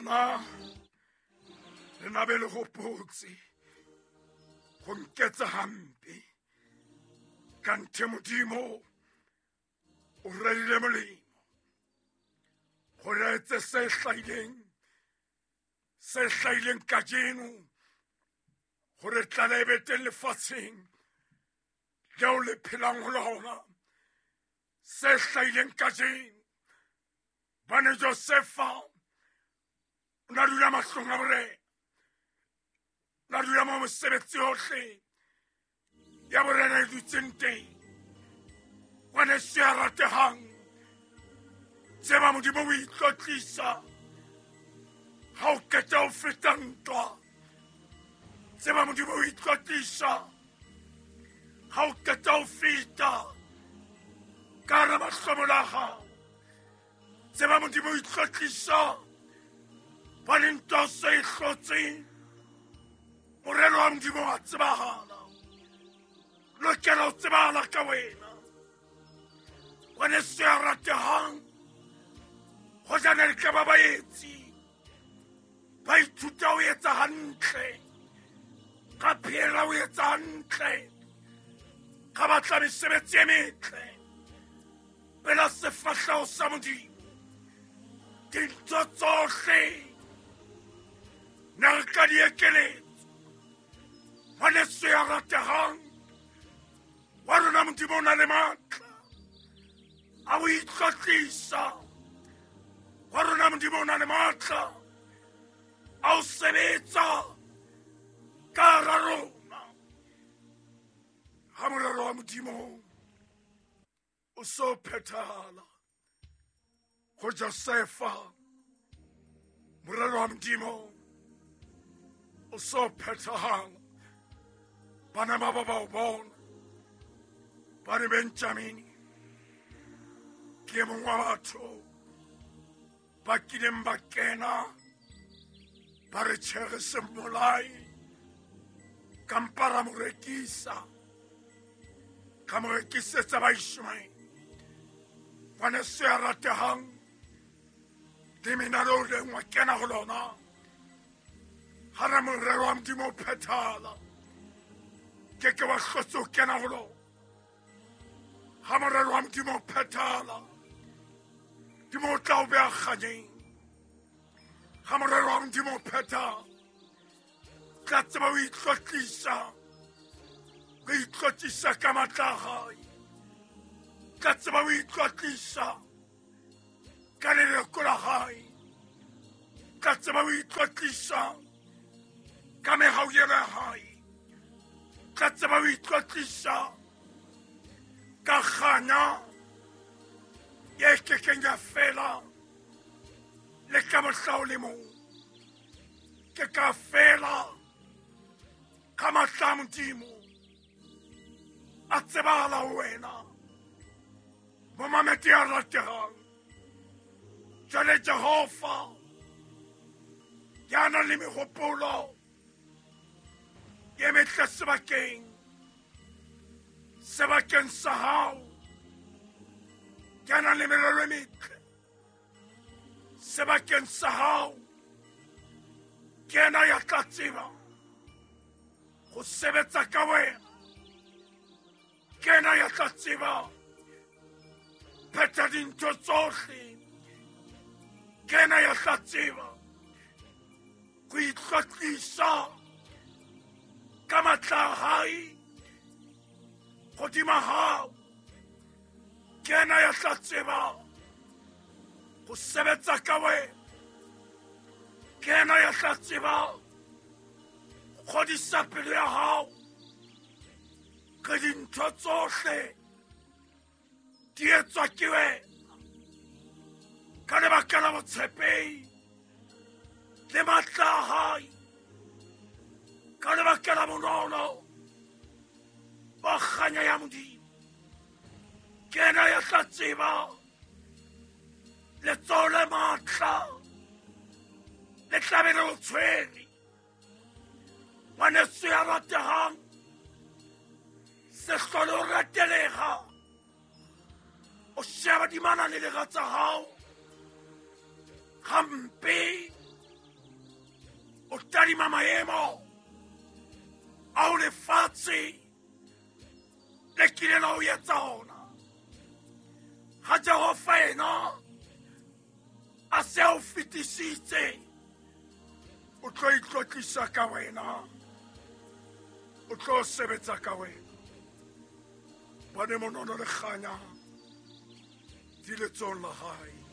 Lona le na be le gopotse go nketsa hampe, kanthe Modimo o rerile molemo gore a etse se hlahileng kajeno, gore tlala e be teng lefatsheng leo le phelang ho lona. Se hlahileng kajeno bane Josefa o na dula mahlong a borena, o na dula mo mosebetsi yohle ya borena e dutseng teng. Ngwaneso ya ratehang, tseba Modimo o itlotlisa ha o qeta ho feta ntwa. Tseba Modimo o itlotlisa ha o qeta ho feta ka hara mahlomola a hao. Tseba Modimo o itlotlisa ba le ntwa se e hlotseng. Morero wa Modimo wa tsebahala, lokela ho tsebahala ka wena. Ngwaneso ya ratehang, hojana le ka ba baetsi ba ithuta ho etsa hantle, ka phela ho etsa hantle, ka batla mesebetsi e metle pela sefahleho sa Modimo, dintho tsohle ne re ka di ekeletsa. Ngwaneso ya ratehang, wa rona Modimo o na le matla a ho itlotlisa. Wa rona Modimo o na le matla a ho sebetsa ka hara rona. Ha morero wa Modimo o so phethahala go Josefa, morero wa Modimo o so phethahala, bana ba ba o bona ba re Benjamini ke e mongwe wa batho ba kileng ba kena ba re tjhere se mmolai, kampa ra mo rekisa, ka mo rekisetsa ba Ishmaele. Ngwaneso ya ratehang, lemina leo leng wa kena ho lona ga re morero wa Modimo o phethala, ke ke wa hlotse o kena ho lona. Ga morero wa Modimo o phethala, Modimo o tla o beya kganyeng. Ga morero wa Modimo o phethala, tla tseba o itlotlisa, o itlotlisa ka matla a gae, tla tseba o itlotlisa ka leloko la gae, tla tseba o itlotlisa ka megauyelo ya gae, tla tseba o itlotlisa ka kganya ye kekeng ya fela le ka mohla o le mong. Ke ka fela ka matla a Modimo a tsebahala ho wena, momamedi ya rategang. Jwale Jehova ya nang le mehopolo e metle sebakeng sa hao, ya nang le merero e metle sebakeng sa hao, ke yena ya tla tseba go sebetsa ka wena, ke yena ya tla tseba phetha dintho tsohle, ke yena ya tla tseba go itlotlisa ka matla a hae godima hao, ke yena ya tla tseba go sebetsa ka wena, ke yena ya tla tseba kgodisa pelo ya hao ke dintho tsohle di etswa ke wena ka lebaka la botshepehi le matla a hae, ka lebaka la bonolo ba kganya ya Modimo. Ke yena ya tla tseba letsoho le matla le tlabe le o tshwere. Ngwaneso ya ratehang, se hlole o ratelega o sheba dimana le lera tsa hao gampe. Tadima maemo ao lefatshe le kile la o etsa ona. Ha Jehova ena a se a o fetisitse, o tlo itlotlisa ka wena, o tlo sebetsa ka wena. Bane monono le kganya di letsong la hae.